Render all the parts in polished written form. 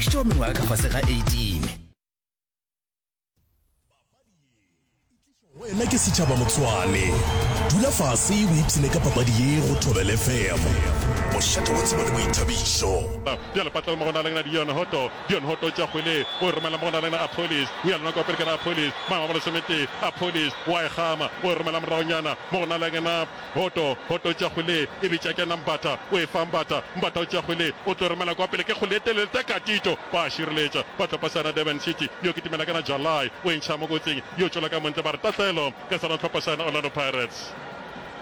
Tšeo mengwaga ka fase ga 18. Wena ke setšhaba motswale. Dula fase o ipshine ka papadi ye go Thobela FM. Mošate wa tsebo le boithabišo. Bjale patla mo go na le na Dion Hotto. Dion Hotto o tšea kgwele o e romela mo go na le na Appollis. O ya lona kwa pele ka na Appollis. Maemo a bolesometee. Appollis o a e gama o e romela moragonyana mo go na le na Hoto, Hoto tša kgwele e bitša kena Mbatha, o e fa Mbatha, Mbatha o tšea kgwele o tlo romela kwa pele ke kgwele e telele Tekatito ba a šireletša ba tlo pasana Durban City yo kitimela kana Jalai o e ntšha mo kotsing yo tšwela ka montle ba re tahlelo ka sona hlopha sa Orlando Pirates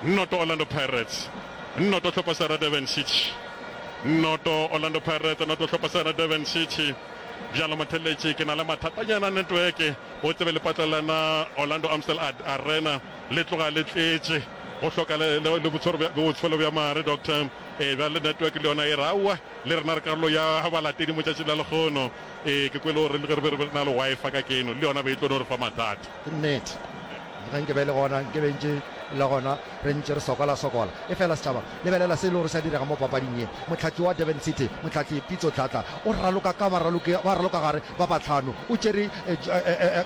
noto Orlando Pirates noto hlopha sa Durban City noto Orlando Pirates noto hlopha sa Durban City bjalo motheletši ke na le mathatanyana network o tsebe lepatla lana Orlando Amstel Arena Le tloga le tletše go hloka le, le, le botshwaro bja, botshwelo bja mare, Doctor. Ee, bjale network le yona e re, Aowa, le rena re karolo ya balatedi mo tšatšing la lekgono. Ee, ke kwele gore le ge re be re na le Wi-Fi ka keno, le yona be e tlo no re fa mathata. Ke nnete. Ge nke be e le gona, nke be ntše le gona re ntše re sokola-sokola. Efela setšhaba, lebelela se e le gore se a direga mo papading ye. Mohlahli wa Durban City, mohlahli Pitso Dladla, o raloka ka baraloki ba ralokagare ba bahlano. O tšere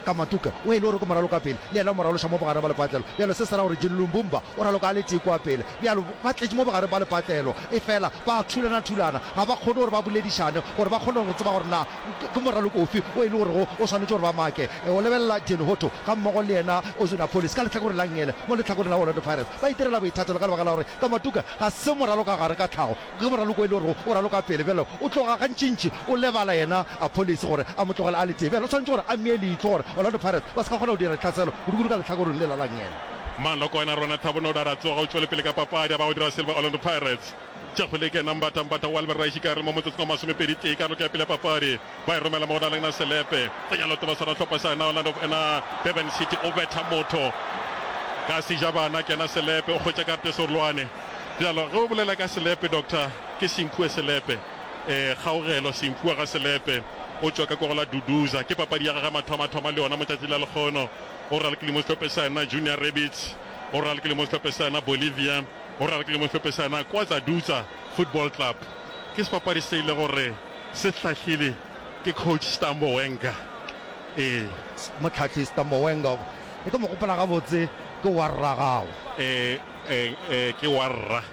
Kamatuka, o e le gore ke moralokapele, le yena o mo raloša mo bogareng ba lepatlelo. Bjalo se se ra gore Jin Lumbumba o raloka a le tee kua pele. Bjalo ba tletše mo bogareng ba lepatlelo, efela ba a thulana-thulana, ga ba kgone gore ba boledišane gore ba kgone go tseba gore na ke moraloko ofe o e le gorego o swanetše gore ba make. O lebelela Jin Hotto gammogo le yena Oswin Appollis ka lehlakoreng la nngele, mo lehlakoreng la Orlando Pirates ba itirela boithatelo ka lebaka la gore Kamatuka ga se moralokagare ka tlhago. Ge moraloko e le gore o raloka pele bjalo, o tloga gantšintši o lebala yena Appollis gore a mo tlogele a le tee. Bjale o swanetše gore a mmee leihlo gore Orlando Pirates ba se ka kgona go dira ditlhaselo, kudukudu ka lehlakoreng lela la nngele. Malokwane a rona Thabo Noda a tsoga o tšwele pele ka papadi a ba go dira Silva Orlando Pirates. Tša kgwele ke yena Mbatha Mbatha wa Albert Raishikare mo motsotsong wa masomepedi tee karolo ke ya pele ya papadi. Ba e romela mo go na le Selepe. Tsenya leoto ba swara hlopha sa yena Orlando ena Durban City o betha motho ka sejabana ke yena Selepe o hwetša karate serolwane. Bjalo ge o bolela ka Selepe Doctor ke Simphiwe Selepe eh kgaogelo Simphiwe ga Selepe o tšwa ka kwa go la Duduza ke papadi ya gagwe mathomathoma le yona mo tšatši la lekgono o ralokile mo sehlopheng sa yena Junior Rabbits o ralokile mo sehlopheng sa yena Bolivia o ralokile mo sehlopheng sa yena Kwazadutsa Football Club ke sebapadi se ile gore se hlahlile ke coach Stambo Wenger. Ee. Mohlahli Stambo Wenger, e ke mo gopola gabotse, ke wa rragago. Ee, ee, ee, ke wa rra.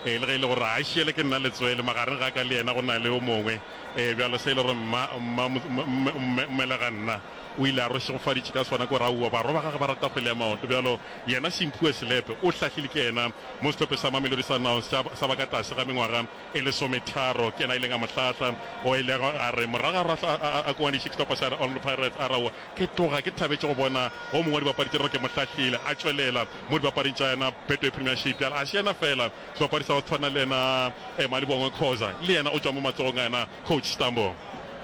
Ee, le ge e le gore a šiele ke nna letswele, magareng ga ka le yena go na le yo mongwe. Ee, bjalo se e le gore mma, mma, mme, mme, mmelega nna o ile a re šegofaditše ka sona, ke gore aowa, barwa ba gagwe ba rata kgwele ya maoto. Bjalo yena Simphiwe Selepe o hlahlile ke yena mo sehlopheng sa Mamelodi Sundowns sa, sa ba ka tlase ga mengwaga e lesometharo. Ke yena a ileng a mo hlahla. O ile a re morago ga gore a, a, a koaniše sehlopha sa Orlando Pirates, a re aowa, ke tloga ke thabetše go bona o mongwe wa dibapadi tše re ke mo hlahlile a tšwelela mo dibapading tša yena Betway Premiership. Bjale a se yena feela sebapadi sa go tshwana le yena eh, Malibongwe Khoza, le yena o tšwa mo matsogong a yena coach Stambo.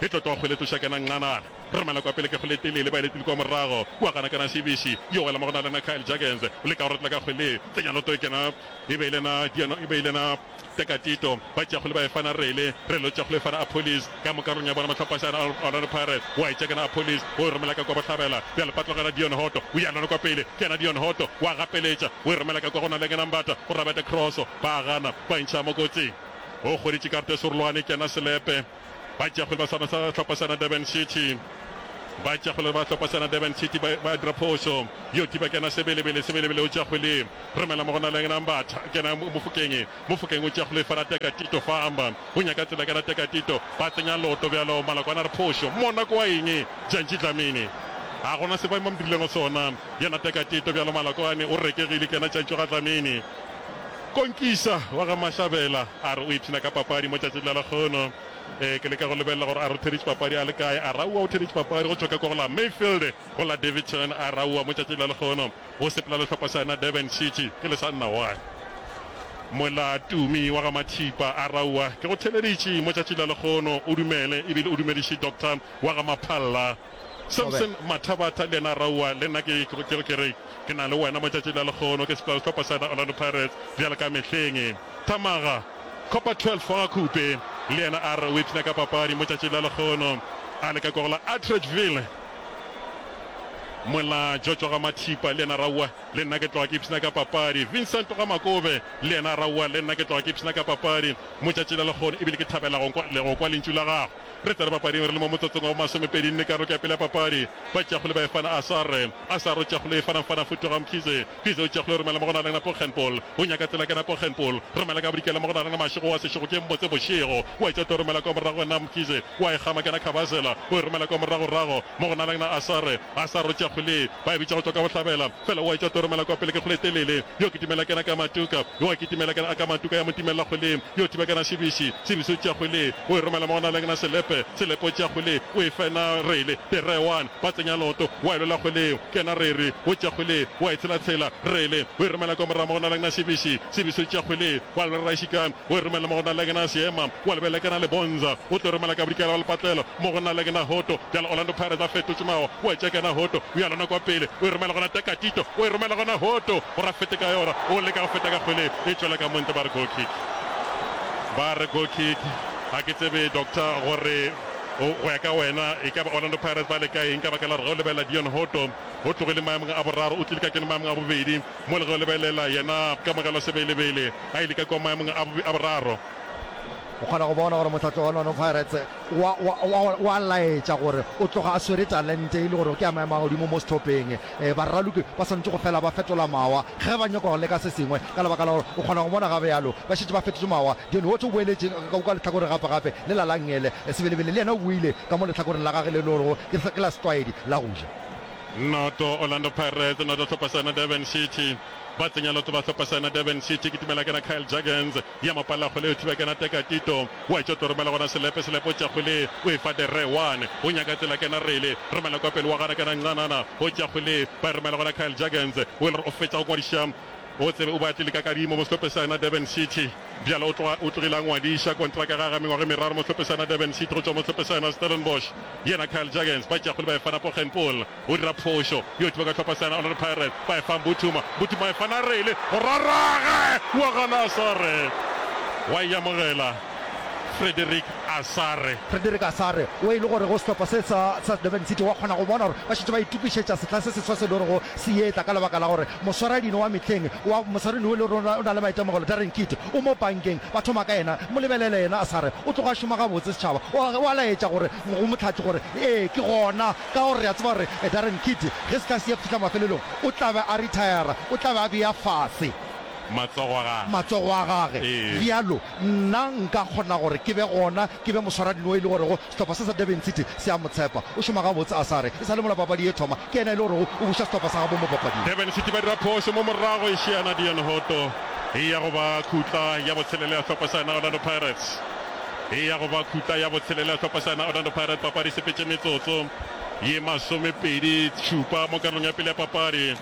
E tlo tloga kgwele tloša kena Nqanana. Romela kwa pele ke kgwele e telele, ba e letile kwa morago. Kua gana kena Sibisi, yo wela mo go na le yena Kyle Jurgens. O leka go rotla ka kgwele, tsenya loto e kena e be e le yena Diano, e be e le yena Tekatito. Ba tšea kgwele ba e fana Rele, Rele o tšea kgwele e fana Appollis. Ka mo karolong ya bona mahlophašana a Orlando Pirates, wa e tšea kena Appollis, o e romela ka kwa bohlabela. Bjale ba tlogela Dion Hotto, o ya lona kwa pele, ke yena Dion Hotto, wa gapeletša, o e romela ka kwa go na le kena Mbatha, gore a bete cross, ba gana, ba e ntšha mo kotsing. O hweditše karata e serolwane, ke yena Selepe. Ba tšea kgwele ba swana sa hlopha sa Durban City. Ba tšea kgwele ba hlopha sa Durban City ba, ba dira phošo. Yo thiba kena Sebelebele, Sebelebele o tšea kgwele. Romela mo go na le yena Mbatha, kena Mofokeng. Mofokeng o tšea kgwele fana Teka Tito fa amba. O nyaka tsela kena Teka Tito. Ba tsenya loto bjalo Malakwana re phošo. Mona kwa eng? Jantji Dlamini. Ga gona se ba mo dirilego sona. Yena Teka Tito bjalo Malakwane o rekegile kena Jantji ga Dlamini. Konkisa wa ga Mashabela a re o ipshina ka papadi mo tšatšing la lekgono. Ee, ke leka go lebelela gore a re o theeditše papadi a le kae. A re aowa o theeditše papadi go tšwa ka kwa go la Mayfield go la Daveyton. A re aowa mo tšatšing la lekgono o sepela le hlopha sa yena Durban City ke le sa nna one. Mola Tumi wa ga Mathipa a re aowa ke go theeleditše mo tšatšing la lekgono o dumele ebile o dumediše Doctor wa ga Maphalla. Samson Mathabatha le yena a raowa, le nna ke, ke, ke re ke na le wena mo tšatšing la lekgono, ke sepela le sehlopha sa Orlando Pirates bjalo ka mehleng. Thamaga, Copper 12 wa ga Khupe le yena a re o ipshina ka papadi mo tšatšing la lekgono a le ka kwa go la Atteridgeville. Mola Jojo ga Mathipa le yena raowa le nna ke tloga ke ipshina ka papadi. Vincent ga Makobe le yena raowa le nna ke tloga ke ipshina ka papadi. Motšatši la lekgono ebile ke thabela go le go kwa lentšu la gago. Re tsena papading re le mo motsotsong wa bomasomepedi nne karolo ke ya pele ya papadi. Ba tšea kgole ba e fana Asare. Asare o tšea kgole e fana fana Futoga Mkhize. Mkhize o tšea kgole o romela mo go na le Poggenpoel. O nyaka tsela ke na Poggenpoel. Romela ka bodikela mo go na le Mashego wa Seshego ke mmotse bošego. Wa etša tlo romela kwa morago na Mkhize. Wa e gama ke na Khabazela. O e romela kwa moragorago mo go na le na Asare. Asare o tšea kgole ba e bitša go tšwa ka bohlabela. Fela o a etša tlo romela kwa pele ke kgole e telele. Yo kitimela ke na Kamatuka. Yo a kitimela ke na Kamatuka ya mo timelela kgweleng. Yo thiba ke na Shibisi. Shibisi o tšea kgwele o e romela mo go na le na Selepe. Selepe o tšea kgwele o e fena Rele. The one ba tsenya loto wa e lwela kgweleng. Ke yena Rere o tšea kgwele wa e tshelatshela. Rele o e romela kwa morago mo go na le na Shibisi. Shibisi o tšea kgwele wa lwela Raishika o e romela mo go na le na Seema. Wa lebelela ke na Lebonza o tlo romela ka bodikela wa lepatlelo mo go na le na Hoto. Bjale Orlando Pirates ba fetotše mawa wa e tšea ke na Hoto o ya lona kwa pele o e romela gona Tekatito o e romela gona Hoto gore a fete ka yona o leka go feta ka kgwele e tšwela ka montle ba re goal kick ba re goal kick ga ke tsebe doctor gore go ya ka wena e ka ba Orlando Pirates ba leka eng ka baka la gore ge o lebelela Dion Hoto o tlogile maemong a boraro o tlile ka kene maemong a bobedi mo le ge o lebelela yena Kamogelo Sebelebele a ile ka kwa maemong a boraro. O kgona go bona gore mohlahli wa Orlando Pirates wa, wa, wa, wa laetša gore o tloga a swere talente e le gore ke ya maemo a godimo mo sehlopheng. E, baraloki ba swanetše go fela ba fetola mawa ge ba nyaka go leka se sengwe ka lebaka la gore o kgona go bona gabjalo ba šetše ba fetotše mawa. Dion Hotto o boeletše ka, ka lehlakoreng gape gape le la Langele. Sebelebele le yena o boile ka mo lehlakoreng la gage le le gorego ke, ke la setlwaedi la go ja. Noto Orlando Pirates, noto hlopha sa yona Durban City. Ba tsenya loto ba hlopha sa yona Durban City. Kitimela kena Kyle Jurgens. Ya mo palela kgole, o thiba kena Teka Tito. Wa etšwa tlo romela gona Selepe, Selepe o tšea kgole, o e fa Dere One. O nyaka tsela kena Rele, romela kwa pele wa gana kena Ncanana. O tšea kgole, ba e romela gona Kyle Jurgens. O e le gore o fetša go ngwadiša, o tsebe o be a tlile ka kadimo mo sehlopheng sa yona Durban City. Bjale o tloga o tlogile a ngwadiša kontraka ya gagwe ya mengwaga e meraro mo sehlopheng sa yona Durban City go tšwa mo sehlopheng sa yona Stellenbosch. Yena Kyle Jurgens ba tšea kgole ba e fana Poggenpoel. O dira phošo yo thiba ka hlopha sa Orlando Pirates ba e fa Mbuthuma. Mbuthuma e fana Rele go rarage wa gana Asare wa e amogela Frederick Asare. Frederick Asare o e le gore go sehlopha se sa sa Durban City wa kgona go bona gore ba šetše ba itokišetša sehla se seswa se le gorego se etla ka lebaka la gore moswaradino wa mehleng wa moswaradino o le gore o na le maitemogelo Darren Keet o mo pankeng ba thoma ka yena mo lebelele yena Asare o tloga a šoma gabotse setšhaba o a laetša gore go mohlahli gore ee ke gona Ka gore re a tseba gore Darren Keet ge sehla se ya fihla mafelelong o tla be a rithayara, o tla be a bea fase Matsogo a gage. matsogo a gage. Ee. Bjalo nna nka kgona gore ke be gona, ke be moswaradino e le gorego sehlopha se sa Durban City se a mo tshepa. O šoma gabotse Asare, e sa le mola papadi e thoma, ke yena e le gorego o buša sehlopha sa gabo mo papading. Durban City ba dira phošo mo morago e šiana Dion Hotto e ya go ba khutla ya botshelela ya sehlopha sa yona Orlando Pirates. E ya go ba khutla ya botshelela ya sehlopha sa yona Orlando Pirates. Papadi e sepetše metsotso ye masomepedi šupa mo karolong ya pele ya papadi.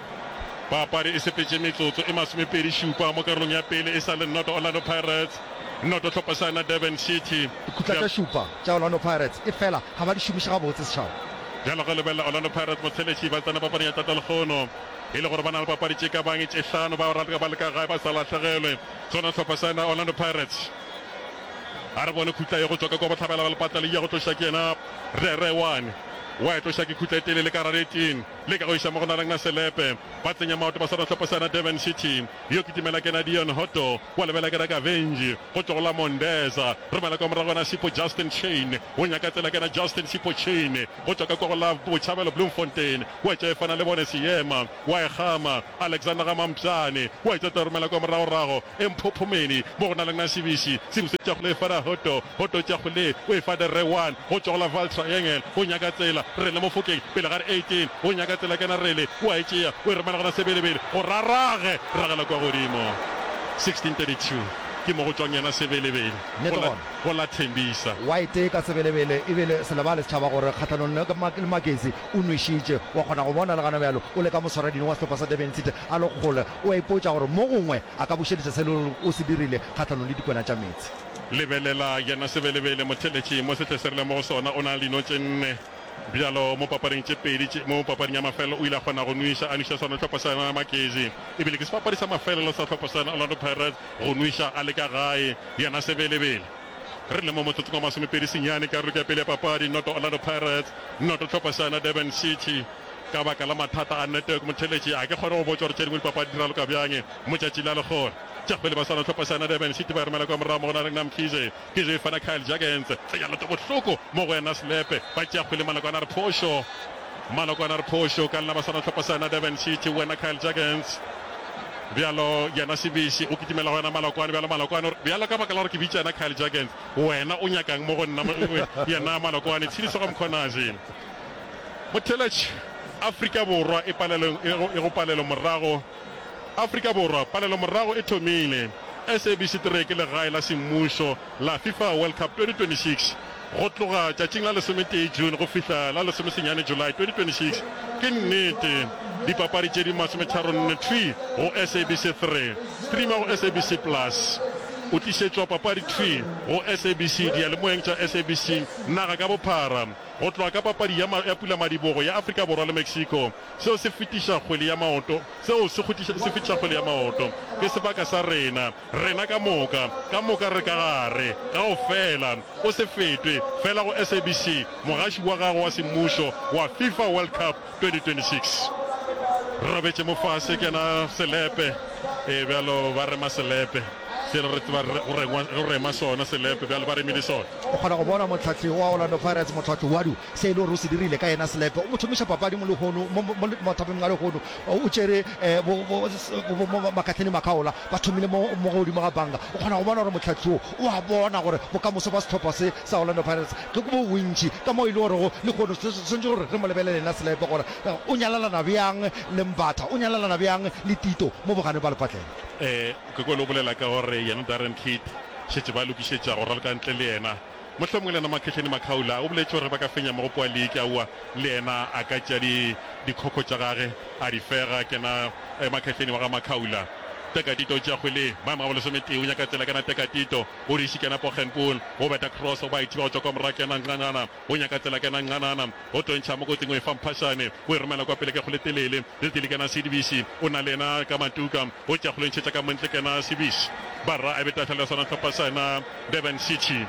Papadi e sepetše metsotso e masomepedi šupa mo karolong ya pele, e sa le noto Orlando Pirates, noto hlopha sa yona Durban City. Dikhutla tša šupa tša Orlando Pirates efela ga ba di šomiše gabotse setšhaba. Bjalo ge lebelela Orlando Pirates motsheletši ba tsena papading ya tata lekgono e le gore ba na le papadi tše ka bang tše hlano ba raloka ba le ka gae ba sa lahlegelwe. Sona sehlopha sa yona Orlando Pirates. A re bone khutla ye go tšwa ka kua bohlabela ba lepatla le ya go tloša ke yena Rere One. Wa e tloša ke khutla e telele ka rareting le ka go iša mo go Narangna Selepe. Ba tsenya maoto ba swara sehlopha sa yena Durban City. Yo kitimela ke yena Dion Hotto. Wa lebela ke yena Kavenji go tšwa go la Mondeza. Romela kwa morago yena Sipho Justin Chain. O nyaka tsela ke yena Justin Sipho Chain go tšwa ka kua go la Botšhabelo Bloemfontein. Wa etša e fana le bone Seema. Wa e gama Alexander ga Mampšane. Wa etša tla romela kwa moragorago E mphophomeni mo go na le na Sibisi. Sibisi tša go le fa da Hoto. Hoto tša go le o e fa de Re one go tšwa go la Vaal Triangle. O nyaka tsela Rele Mofokeng pele ga re 18. O nyaka tsela kena Rele o a e tšea o e romela gona Sebelebele go rarage ragela kwa godimo. 16:32 ke mo go tšwang yena Sebelebele Nnete go la gona. go la Thembisa. Wa e teka Sebelebele ebile se lebale setšhaba gore kgahlanong le Magesi o nwešitše. Wa kgona go bona le gana bjalo o leka moswaradino wa sehlopha sa Durban City a le kgole. O a ipotša gore mo gongwe a ka bušeletša se le o se dirile kgahlanong le dikwena tša meetse. Lebelela yena Sebelebele, motheletši mo sehle se re leng mo go sona, o na le dino tše nne bjalo mo papading tše pedi tše. Mo papading ya mafelelo o ile a kgona go nweša, a nweša sona sehlopha sa yona Magezi. E bile ke sebapadi sa mafelelo sa sehlopha sa yona Orlando Pirates go nweša a le ka gae, yena Sebelebele. Re le mo motsotsong wa masomepedi senyane karolo ke ya pele ya papadi, noto Orlando Pirates, noto hlopha sa yona Durban City. Ka baka la mathata a network motheletši a ke kgone go botša gore tše dingwe dipapadi di raloka bjang mo tšatši la lehono. Tša kgwele ba swana hlopha sa yona Durban City ba e romela kwa morago mo go na le Mkhize. Mkhize e fana Kyle Jurgens. Tsenya leoto bohloko mo go yena Selepe. Ba tšea kgwele Malokwane a re phošo. Malokwane a re phošo ka lena ba swana hlopha sa yona Durban City wena Kyle Jurgens. Bjalo yena Sibisi o kitimela go yena Malokwane bjalo Malokwane o re bjalo ka baka la gore ke bitša yena Kyle Jurgens wena o nyakang mo go nna yena Malokwane Tshediso ga Mkhwanazi. Motheeletši, Afrika Borwa e palelong e go palelo morago Afrika Borwa palelo morago e thomile. SABC 3 ke legae la semmušo la FIFA World Cup 2026 go tloga tšatšing la lesometee June go fihla la lesomesenyane July 2026. Ke nnete, dipapadi tše di masometharonne thwi go SABC 3. Streama go SABC Plus. O tlišetšwa papadi thwi go SABC diyalemoyeng tša SABC naga ka bophara. Go tloga ka papadi ya ya pulamadibogo ya Afrika Borwa le Mexico, seo se fetiša kgwele ya maoto, seo se kgutiša, se fetiša kgwele ya maoto. Ke sebaka sa rena, rena ka moka, ka moka re ka gare, kaofela. O se fetwe, fela go SABC, mogaši wa gago wa semmušo wa FIFA World Cup 2026. Re robetše mo fase, ke yena Selepe. Ee, bjalo ba rema Selepe. Selo re tseba go rengwa, go rema sona Selepe, bjalo ba remile sona. O kgona go bona mohlahli wa Orlando Pirates, Mohlahli Wadu, se e le gore o se dirile ka yena Selepe. O mo thomiša papadi mo lehono, mo, mo, mo mathapameng a lehono. O tšere eh, bo, bo, bo, bo, Makahleni Makhaola, ba thomile mo, mo godimo ga banka. O kgona go bona gore mohlahli wo o a bona gore bokamoso bja sehlopha se sa Orlando Pirates ke bo bontši ka mo e le gorego lehono se swanetše gore re mo lebelele yena Selepe gore o nyalalana bjang le Mbatha, o nyalalana bjang le Tito mo boganeng ba lepatlelo. Eh, ke kwele o bolela ka gore yena Darren Keet šetše ba lokišetša go raloka ntle le yena. Mohlomongwe le yena Makhehleni Makhaula o boletše gore ba ka fenya mogopo wa liki, aowa, le yena a ka tšea di, dikhokho tša gage a di fega. Ke yena eh, Makhehleni wa ga Makhaula. Tekatito o tšea kgwele, maemo a bolesometee, o nyaka tsela, ke yena Tekatito, o di šikana Poggenpoel, o beta cross, ba e thiba go tšwa kwa morago, ke yena Nqanqana, o nyaka tsela, ke yena Nqanana, o tlo ntšha mo kotsing, o e fa Mphashane, o e romela kwa pele ke kgwele telele, le tele ke yena Sidibisi, o na le yena ka matuka, o tšea kgwele o ntšhetša ka montle, ke yena Sibisi. Barra a be tahlelo ya sona sehlopha sa yena Durban City.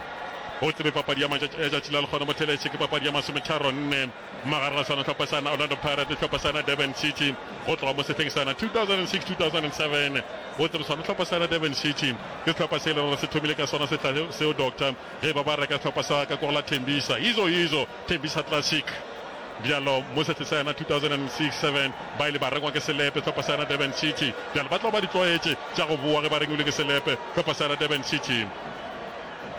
O tsebe papadi ya matšatši ya tšatši la lekgono motheletše ke papadi ya masometharo nne magareng ga sona sehlopha sa yena Orlando Pirates le sehlopha sa yena Durban City go tloga mo sehleng sa yena 2006-2007. O tsebe sona sehlopha sa yena Durban City ke sehlopha se e leng gore se thomile ka sona sehla seo Doctor ge ba ba reka sehlopha sa ka kwa go la Tembisa Yizo Yizo Tembisa Classic. Bjalo mo sehleng sa yena 2006-7 ba ile ba rengwa ke selepe sehlopha sa yena Durban City. Bjalo ba tlo ba di tlwaetše tša go bowa ge ba rengilwe ke selepe sehlopha sa yena Durban City.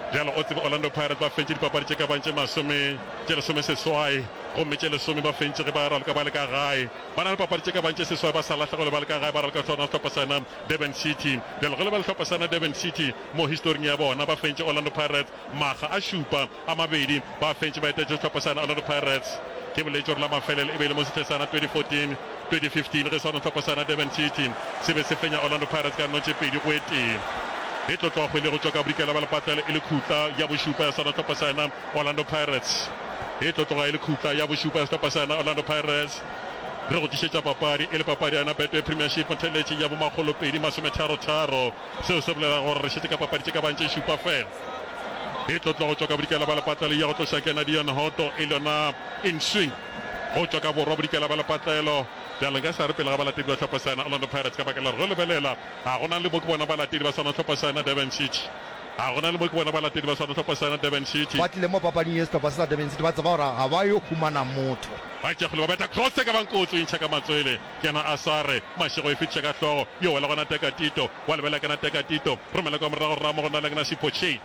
Bjalo o tsebe Orlando Pirates ba fentše dipapadi tše ka bang tše masome tše lesomeseswai gomme tše lesome ba fentše ge ba raloka ba le ka gae. Ba na le papadi tše ka bang tše seswai ba sa lahlegelwe ba le ka gae ba raloka sona sehlopha sa yena Durban City. Bjalo ge le ba le sehlopha sa yena Durban City mo historing ya bona ba fentše Orlando Pirates makga a šupa. A mabedi ba fentše ba etetše sehlopha sa Orlando Pirates. Ke boletše gore la mafelelo e be e le mo sehleng sa 2014, 2015 ge sona sehlopha sa Durban City se be se fenya Orlando Pirates ka nno tše pedi go e tee. E tlo tloga kgwele go tšwa ka bodikela ba lepatlelo e le khutla ya bošupa ya sona sehlopha sa Orlando Pirates. E tlo tloga e le khutla ya bošupa ya sehlopha sa Orlando Pirates. Re go tlišetša papadi e le papadi ya yona Betway Premiership motheletši ya bomakgolopedi masometharo-tharo. Seo se bolela gore re šetše ka papadi tše ka bang tše šupa fela. E tlo tloga go tšwa ka bodikela ba lepatlelo ya go tloša kena Dion Hotto e le yona in swing go tšwa ka borwa bodikela ba lepatlelo. Bjale nka sa re pele ga balatedi ba hlopha sa yena Orlando Pirates ka baka la gore ge o lebelela ga gona le mo ke bona balatedi ba sona hlopha sa yena Durban City. Ga gona le mo ke bona balatedi ba sona hlopha sa yena Durban City. Ba tlile mo papading ye sehlopha se sa Durban City ba tseba gore ga ba yo humana motho. Ba tšea kgwele ba betha cross e ka bang kotsi o e ntšha ka matswele. Ke yena Asare, Mašego e fetiša ka hlogo, yo wela gona Tekatito, wa lebela kena Tekatito, romela kwa morago Ramo go na le kena Sipho Chain,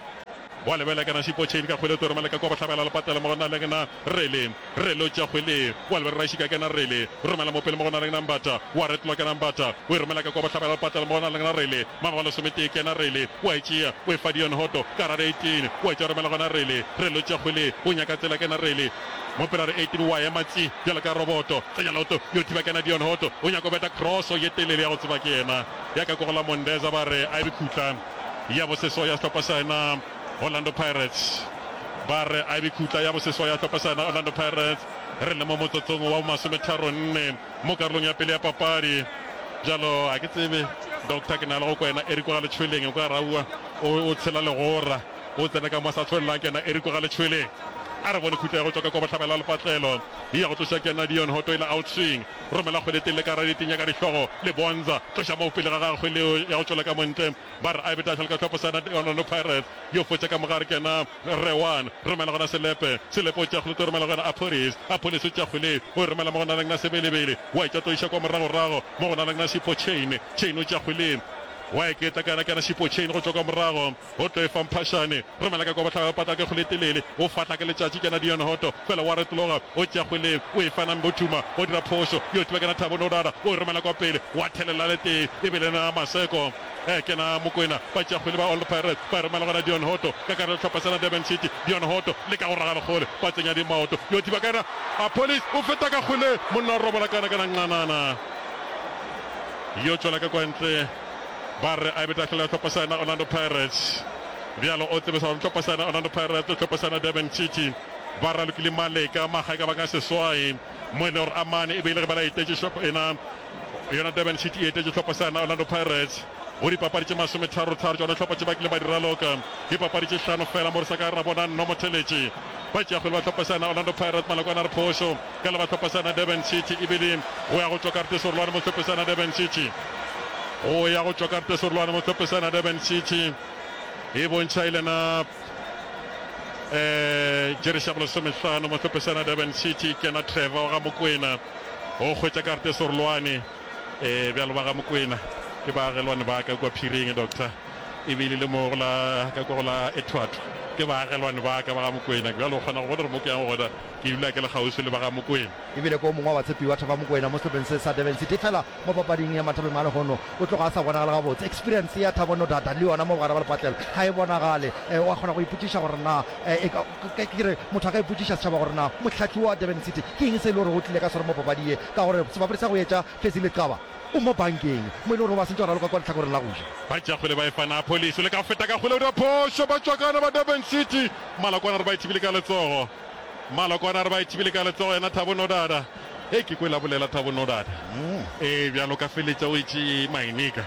wa lebela kena Sipho Chain ka kgwele o tlo romela ka kwa bohlabela lepatela mo go na le kena Rele, Rele o tšea kgwele, wa lebela Rašika kena Rele, romela mo pele mo go na le kena Mbata, wa retlola kena Mbata, o e romela ka kwa bohlabela lepatela mo go na le kena Rele, mama wa lesometee kena Rele, wa e tšea, o e fa Dion Hotto, ka gare 18, wa e tšea romela gona Rele, Rele o tšea kgwele, o nyaka tsela kena Rele. Mo pela re 18 wa ema tsi bjalo ka roboto. Tsenya leoto yo thiba kena Dion Hotto. O nyaka go beta crosso ye telele ya go tseba ke yena ya ka kogola Mondeza ba re a e be khutla ya boseswa ya sehlopha sa yena Orlando Pirates. Ba re a e be khutla ya boseswa ya sehlopha sa yena Orlando Pirates. Re le mo motsotsong wa bomasometharonne mo karolong ya pele ya papadi. Bjalo a ke tsebe Doctor ke na le go kwa yena Eric wa ga Letšhweleng o ka re aowa o tshela legora o tsena ka mo a sa tshwelelang ke yena Eric wa ga Letšhweleng. A re bone khutla ya go tšwa ka kwa bohlabela lepatlelo. E ya go tloša ke yena Dion Hotto e la outswing. Romela kgwele telele ka raditing ya ka dihlogo. Lebonza tloša moo pele ga gagwe kgwele yeo ya go tšwela ka montle. Ba re a e be tahlelo ka hlopho sa Orlando Pirates. Yo fotša ka mogare ke yena Rewan. Romela gona Selepe. Selepe o tšea kgwele o tlo romela go yena Appollis. Appollis o tšea kgwele o e romela mo go naleng na Sebelebele. Wa e tša tlo iša kwa moragorago mo go naleng na Sipho Chaine. Chaine o tšea kgwele wa e ketla ka yena ke yena Sipho Chaine go tšwa kwa morago. O tlo e fa Mphašane. Romela ka kwa bohlabela patla ke kgwele e telele. O fahla ke letšatši ke yena Dion Hotto. Fela wa retologa. O tšea kgwele o e fa Nambothuma. O dira phošo. Yo thiba ke yena Thabo Nodada. O e romela kwa pele. Wa thelela le tee. E be le yena Maseko. E ke yena Mokwena. Ba tšea kgwele ba Orlando Pirates. Ba e romela go yena Dion Hotto. Ka gare le hlopha sena Durban City. Dion Hotto leka go raga lekgole. Ba tsenya di maoto. Yo thiba ka yena Appollis. O feta ka kgwele. Monna o robola kana kana nqanana. Yo tšwela ka kwa ntle. Ba re a e be tahlelo ya hlopha sa yena Orlando Pirates. Bjalo o tsebe sa gore hlopha sa yena Orlando Pirates le hlopha sa yena Durban City ba ralokile maleka maga e ka ba ka seswai mo e le gore a mane e be e le ge ba la etetše hlopha ena yona Durban City e etetše hlopha sa yena Orlando Pirates go dipapadi tše masometharotharo tšona hlopha tše ba kile ba di raloka dipapadi tše hlano fela mo re sa ka ra bona nno motheletše ba tšea kgwele ba hlopha sa yena Orlando Pirates malokwana a re phošo Ka le ba hlopha sa yena Durban City ebile go ya go tšwa karate serolwane mo hlophe sa yena Durban City. Go ya go tšwa karate serolwane mo hlophe sa yena Durban City e bontšha e lena eh Jerry Shabolo somehlano mo hlophe sa yena Durban City ke yena Trevor wa ga Mokwena o hwetša karate serolwane eh bjalo ba ga Mokwena ke baagelwane ba ka kwa Phiring doctor ebile le mo go la ka kwa go la Ethwathwa ke baagelwane ba ka ba ga Mokwena bjalo o kgona go bona gore mo ke yang gona Ke dula ke le kgauswi le ba ga Mokwena. E bile ke o mongwe wa batshepi ba Thaba Mokwena mo sehlopheng se sa Durban City. Efela mo papading ya mathapeng a lehono o tloga a sa bonagale gabotse. Experience ya Thabo Nodada le yona mo bogare ba lepatlelo ga e bonagale. O a kgona go ipotšiša gore na e ka, ke re motho a ka ipotšiša setšhaba gore na mohlahli wa Durban City ke eng se e le gore o tlile ka sona mo papading ye ka gore sebapadi sa go etša Fezile Xaba o mo bankeng mo e le gore o ba sentše go raloka kwa lehlakoreng la go ja. Ba tšea kgwele ba e fa Napoli. O leka go feta ka kgwele o dira phošo. Ba tšwakana ba Durban City. Malokwane re ba e thibile ka letsogo. Malokwane a re ba e thibile ka letsogo yena Thabo Nodada. Hei ke kwele a bolela Thabo Nodada. Ee bjalo ka feletša o etše mainika.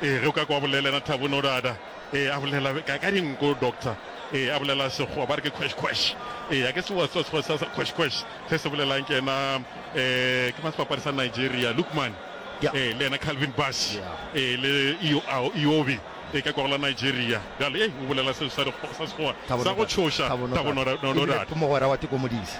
Ee ge o ka kwa bolela yena Thabo Nodada. Ee a bolela ka ka dinko doctor. Ee a bolela sekgowa ba re ke khwesh khwesh. Ee a ke se wa tseba sekgowa sa khwesh khwesh se se bolelang ke yena eh ke mang sebapadi sa Nigeria Lookman. Ee le yena Calvin Bassey. Ee le Iwobi. E ka kwa go la Nigeria. Bjale, ei, o bolela seo sa sa Sekgowa sa go tšhoša, Thabo Nodada. Ke mogwera wa Teko Modise.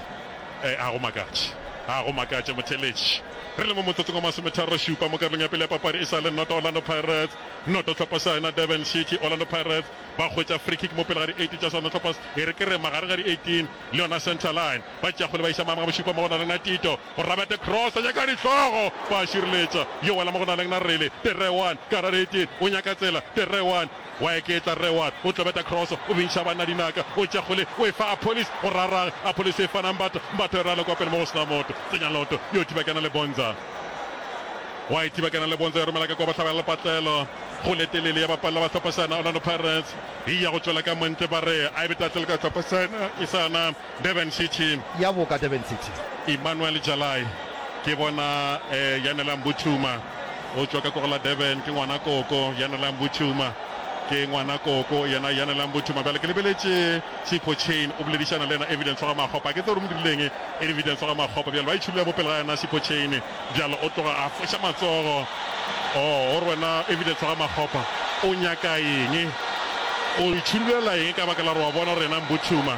E, ga go makatše. Ga go makatše, motheeletši. Re le mo motsotsong wa masometharošupa mo karolong ya pele ya papadi, e sa le noto Orlando Pirates, noto hlopha sa yona Durban City. Orlando Pirates ba hwetša free kick mo pele ga di 18 tša sona hlopha, e re ke re magareng ga di 18 le yona centre line. Ba tšea kgwele ba iša maemo ga bošupa mo go na le na Tito. Go Rabete Cross a nyaka dihlogo, ba a šireletša. Yo wela mo go na leng na Rele. Terewan ka rareeteng o nyaka tsela. Terewan wa eketla. Rewan o tlobeta Cross, o bintšha banna dinaka. O tšea kgwele o e fa Appollis go rarang. Appollis e fa na Mbatha. Mbatha e rala kwa pele mo go sena motho. Tsenya loto yo thiba kena le Bonza. Wa e thiba kena le Bonza ya romela ka kwa bohlabela lepatlelo. Kgwele telele ya bapalela ba hlopha sa yena Orlando Pirates. E ya go tšwela ka montle ba re a e be tahlelo ka hlopha sa yena e sa na. Durban City. Ya boka Durban City. Emmanuel Jalai ke bona eh, Yanela Mbuthuma o tšwa ka ko go la Durban, ke ngwana koko Yanela Mbuthuma, ke ngwana koko yena Yanela Mbuthuma. Bjale ke lebeletše Sipho Chaine o boledišana le yena Evidence wa ga Makgopa, ke tse gore mo dirileng Evidence wa ga Makgopa. Bjale ba itšhulela mo pele ga yena Sipho Chaine, bjale o tloga a foša matsogo. Oh, o re wena Evidence wa ga Makgopa o nyaka eng? O itšhulela eng ka baka la gore wa bona gore yena Mbuthuma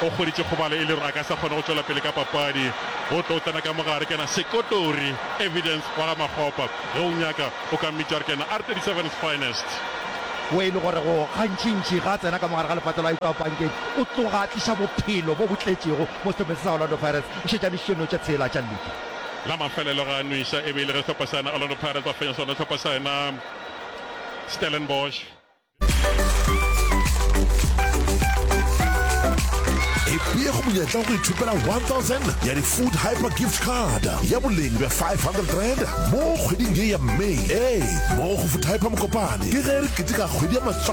o hweditše kgobalo e le gore a ka sa kgone go tšwela pele ka papadi. O tlo tsena ka mogare ke yena Sekotori Evidence wa ga Makgopa. Ge o nyaka o ka mmitša gore ke yena R37's finest. Wo e le gore go gantšintši ga a tsena ka mogare ga lepatlelo a etšwa pankeng, o tloga a tliša bophelo bo bo tletšego mo sehlopheng se sa Orlando Pirates. O šetše a nwešitše no tše tshela tša liki. La mafelelo ga a nweša e be e le ge sehlopha sa yena Orlando Pirates ba fenya sona sehlopha sa yena Stellenbosch. Ipee go monyetla wa go ithopela 1000 ya di-Food Hyper Gift Card ya boleng bja R500 mo kgweding ye ya May. Ee, mo go Food Hyper Mokopane ke ge re keteka kgwedi ya.